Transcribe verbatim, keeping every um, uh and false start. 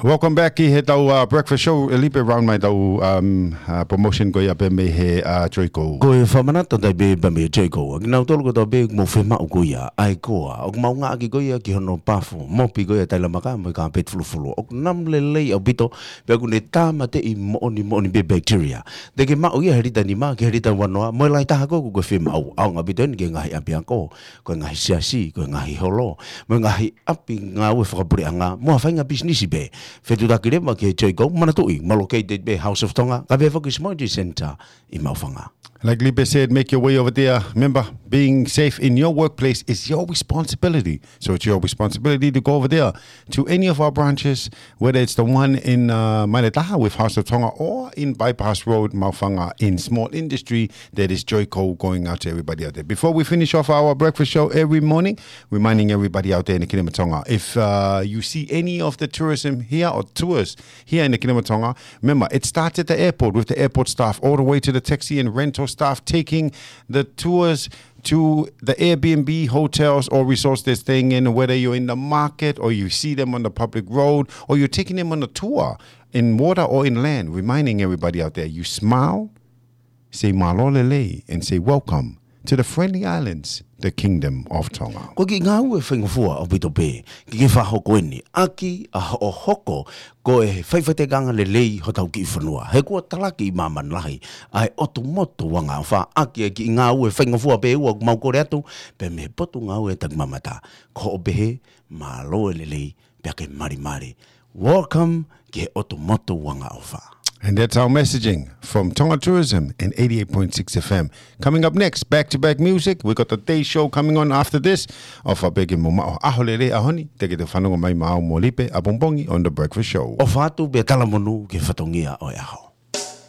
Welcome back ki he tau uh, breakfast show, Lipe, round mai tau um, uh, promotion ko ia pē mei he uh, Joico. Ko e fakamanatu atu pē pea mei he Joico. Kinautolu kotoa pē ʻoku mou fiemaʻu ko ia ʻa e koa, ʻoku mau ngāueʻaki ko ia ki hono pafu, mopi ko ia tailamaka mo e kāpeti fulufulu. ʻOku namu lelei ʻaupito, pea ʻoku ne tāmateʻi moʻoni moʻoni pē bacteria. Te ke maʻu ia he lita nima ki he lita ua noa, mo e lahi taha ko ē ʻoku ke fiemaʻu, ʻaonga ʻaupito eni ki he ngaahi ʻapiako, ko e ngaahi siasi, ko e ngaahi holo, mo e ngaahi ʻapi ngāue fakapuleʻanga, mo ha faʻahinga pisinisi pē. Fetuʻutaki leva ki he Joico, manatuʻi, ʻoku mau located pē House of Tonga, kae pehē foki Smart Center ʻi Maʻufanga. Like Lipe said, make your way over there. Remember, being safe in your workplace is your responsibility. So it's your responsibility to go over there to any of our branches, whether it's the one in uh, Maile Taha with House of Tonga or in Bypass Road, Maʻufanga, in small industry. That is Joico, going out to everybody out there. Before we finish off our breakfast show every morning, reminding everybody out there in the Kingdom of Tonga, if uh, you see any of the tourism here or tours here in the Kingdom of Tonga, remember, it starts at the airport with the airport staff all the way to the taxi and rental staff taking the tours to the Airbnb hotels or resorts they're staying in, whether you're in the market or you see them on the public road or you're taking them on a tour in water or in land, reminding everybody out there, you smile, say mālō lelei, and say welcome to the friendly islands, the Kingdom of Tonga. Ko e kiʻi ngāue faingofua ʻaupito pē, ke ke fakahoko eni, ʻaki ʻa hoʻo hoko ko e faʻifaʻiteliha lelei hotau kiʻi fonua. He kuo talaki ʻi māmani lahi ʻa e ʻotu motu ua ngā ʻofa, ʻaki e kiʻi ngāue faingofua pē ʻoku mau kole atu, pea mei he Potungāue Takimamata. Ko hoʻo pehē, mālō e lelei, pea ke malimali. Welcome ki he ʻotu motu ua ngā ʻofa. And that's our messaging from Tonga Tourism and eighty-eight point six F M. Coming up next, back-to-back music. We got the day show coming on after this. ʻOfa pē ke mou maʻu ha ʻaho lelei he ʻaho ni, te ke toe fanongo mai maʻau mo Lipe ʻapongipongi on the breakfast show. ʻOfa atu pea talamonū ki he fatongia ʻo e ʻaho.